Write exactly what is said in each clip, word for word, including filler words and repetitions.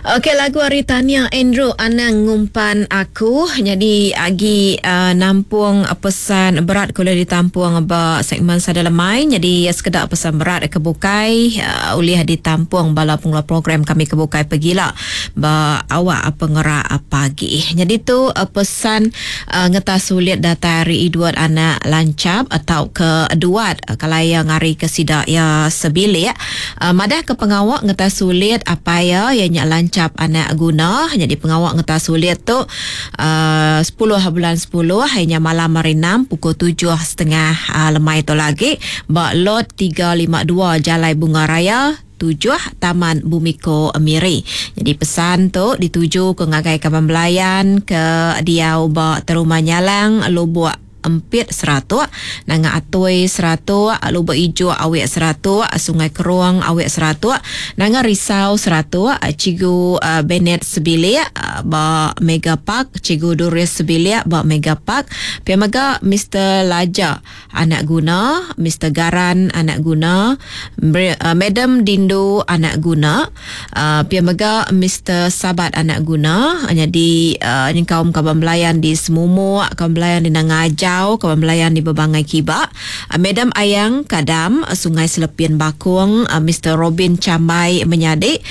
Okey, lagu ari Tania Andrew, Anang Ngumpan Aku. Jadi agi uh, nampung pesan berat ke ulih ditampung ba segmen Sada Lemai. Jadi sekeda pesan berat ke bukai uh, ulih ditampung bala pengeluar program kami ke bukai pegila ba awak pengerak pagi. Jadi tu uh, pesan uh, ngetas sulit datai ari Edward anak Lancap atau ke Duat uh, kalau yang ngari ke sida ya sebilik uh, madah ke pengawak ngetas sulit apa ya ya nyak Lancap anak guna. Jadi pengawak ngetas sulit tu uh, sepuluh bulan sepuluh hanya malam hari enam pukul tujuh setengah uh, lemai tu lagi ba lot tiga lima dua Jalai Bunga Raya tujuh Taman Bumiko Miri. Jadi pesan tu dituju ke ngagai kaban belayan ke diau ba Terumah Nyalang Lubuk Empit seratuk, Nanga Atoi seratuk, Lubuk Ijo awek seratuk, Sungai Keruang awek seratuk, Nanga Risau seratuk, Cigu uh, Bennett sebilik uh, ba Mega Park, Cigu Duris sebilik ba Mega Park, pia mega Mister Laja anak guna, Mister Garan anak guna, uh, Madam Dindu anak guna, uh, pia mega Mister Sabat anak guna. Jadi uh, kaum kaban belayan di Semumuk, kaum belayan di Nanga Ajau, kawan belayan di Bebangai Kibak, Madam Ayang Kadam, Sungai Selepin Bakung, Mister Robin Cambai Menyadik,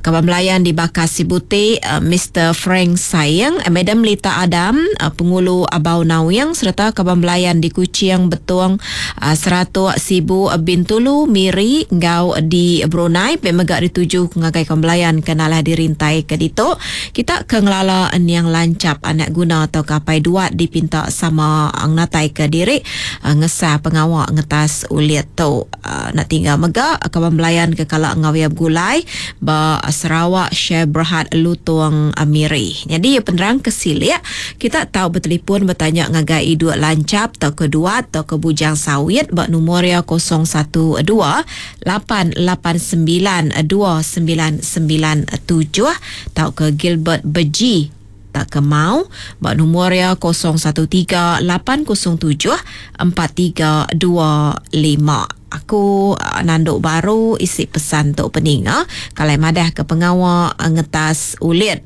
kawan belayan di Bakas Sibuti, Mister Frank Sayang, Madam Lita Adam, Pengulu Abau Nawing, serta kawan belayan di Kuching, Betong, Seratuk, Sibu, Bintulu, Miri, Ngau di Brunei, pemegak dituju ngagai kawan belayan kenalah dirintai ke ditu. Kita ke ngelala niang Lancap anak guna atau kapai duat dipinta sama ngatai ke diri ngesah pengawak ngetas ulit tu. Nak tinggal mega kawan belayan ke kalak ngawia gulai ba Sarawak Share Berhad Lutung Miri. Jadi penerang kesilik kita tahu bertelefon bertanya ngagai iduk Lancap atau ke duat atau ke Bujang Sawit ba nombor ya kosong satu dua lapan lapan sembilan dua sembilan sembilan tujuh atau ke Gilbert Beji tak ke mau buat nombor ya kosong satu tiga lapan kosong tujuh empat tiga dua lima. Aku nanduk baru isi pesan tok peninga kalau madah ke pengawak ngetas ulit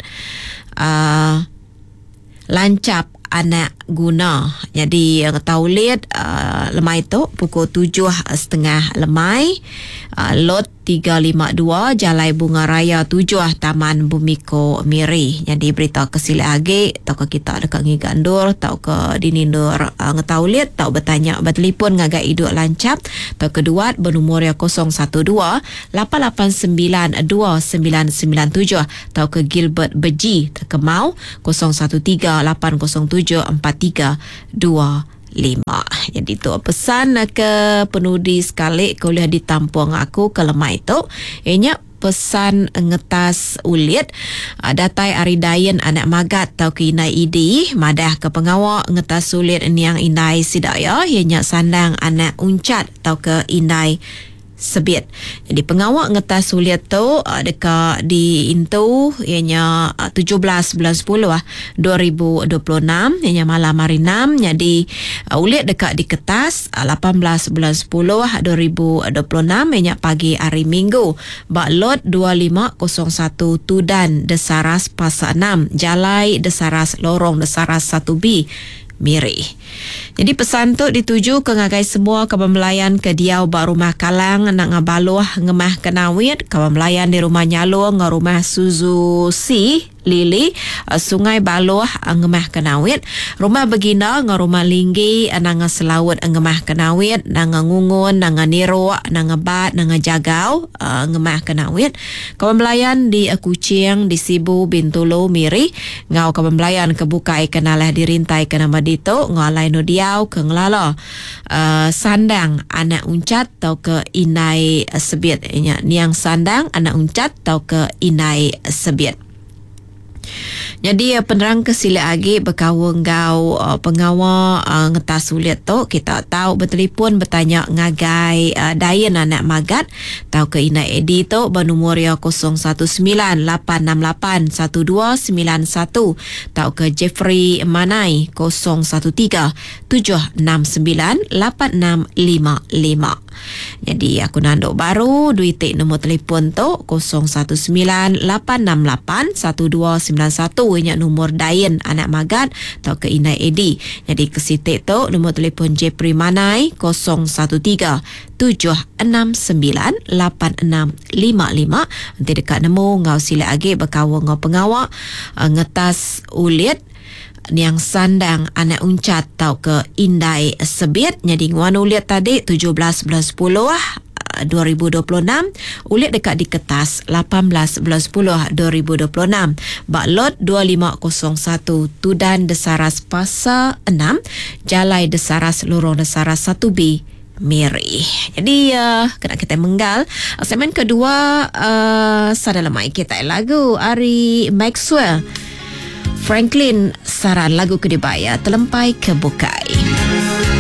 uh, Lancap anak guna. Jadi ngetau ulit uh, lemai tu pukul tujuh setengah lemai uh, lot tiga lima dua Jalai Bunga Raya tujuh Taman Bumiko Miri. Jadi berita kesilik agi atau ke kita dekat ngigandur atau ke dinindur uh, ngetau ulit atau bertanya bertelefon ngagai iduk Lancap atau kedua bernomor ya kosong satu dua lapan lapan sembilan dua sembilan sembilan tujuh atau ke Gilbert Beji ke Mau kosong satu tiga lapan kosong tujuh empat tiga dua lima. Jadi tu pesan ke penudi sekali kuliah ditampung aku ke lemai tu. Ianya pesan ngetas ulit datai ari Dayen anak Magat tau ke Inai Idi madah ke pengawak ngetas ulit niang Inai Sidaya ianya sandang anak Uncat tau ke Inai Sebit. Jadi pengawak ngetas sulit tu uh, dekat di Intu ianya uh, tujuh belas bulan sepuluh ah dua ribu dua puluh enam ianya malam hari enam. Jadi uh, ulit dekat di kertas uh, lapan belas bulan sepuluh dua ribu dua puluh enam ianya pagi hari Minggu bak lot dua lima kosong satu Tudan Desaras Pasar enam Jalai Desaras Lorong Desaras satu B Miri. Jadi pesan tu dituju ke ngagai semua kaban belayan ke diau ba rumah Kalang nak ngabaluh ngemah kenawit, kaban belayan di rumah Nyalung ngau rumah Suzu Si Lili Sungai Baluh ngemah kenawit, rumah Begina ngau rumah Linggi nanga Selaut ngemah kenawit, nanga Ngungun, nanga Niruk, nanga Bat, nanga Jagau ngemah kenawit, kaban belayan di Kuching, di Sibu, Bintulu, Miri ngau kaban belayan ke bukai kenalah dirintai ke nama ditu ngau alai no diau ke ngelala uh, sandang anak Uncat atau ke Inai Sebit. Nya niang sandang anak Uncat atau ke Inai Sebit. Jadi penerang kesilik agi berkawang gau uh, pengawa uh, ngetas sulit tu kita tahu bertelefon bertanya ngagai uh, Dayen anak Magat tau ke Inai Edi tu bernomor ya kosong satu sembilan lapan enam lapan satu dua sembilan satu tau ke Jeffrey Manai kosong satu tiga tujuh enam sembilan lapan enam lima lima. Jadi aku nanduk baru duit nombor telefon tu kosong satu sembilan lapan enam lapan satu dua sembilan satu nya nombor Dain anak Magat atau ke Indai Edi. Jadi ke sitik tu nombor telefon Jepri Manai kosong satu tiga tujuh enam sembilan lapan enam lima lima. Nanti dekat nemu ngau sila agi berkawan ngau pengawak, uh, ngetas ulit niang sandang anak uncat tau ke Indai Sebit. Jadi nguan ulit tadi tujuh belas bulan sepuluh dua ribu dua puluh enam, ulit dekat di kertas lapan belas bulan sepuluh dua ribu dua puluh enam. Bak lot dua lima kosong satu Tudan Desaras Pasar enam, Jalai Desaras Lorong Desaras satu B Miri. Jadi, uh, kena kita menggal. Segmen kedua, uh, sada lemai kita lagu Ari Maxwell Franklin saran lagu kedibaya telempai ke bukai.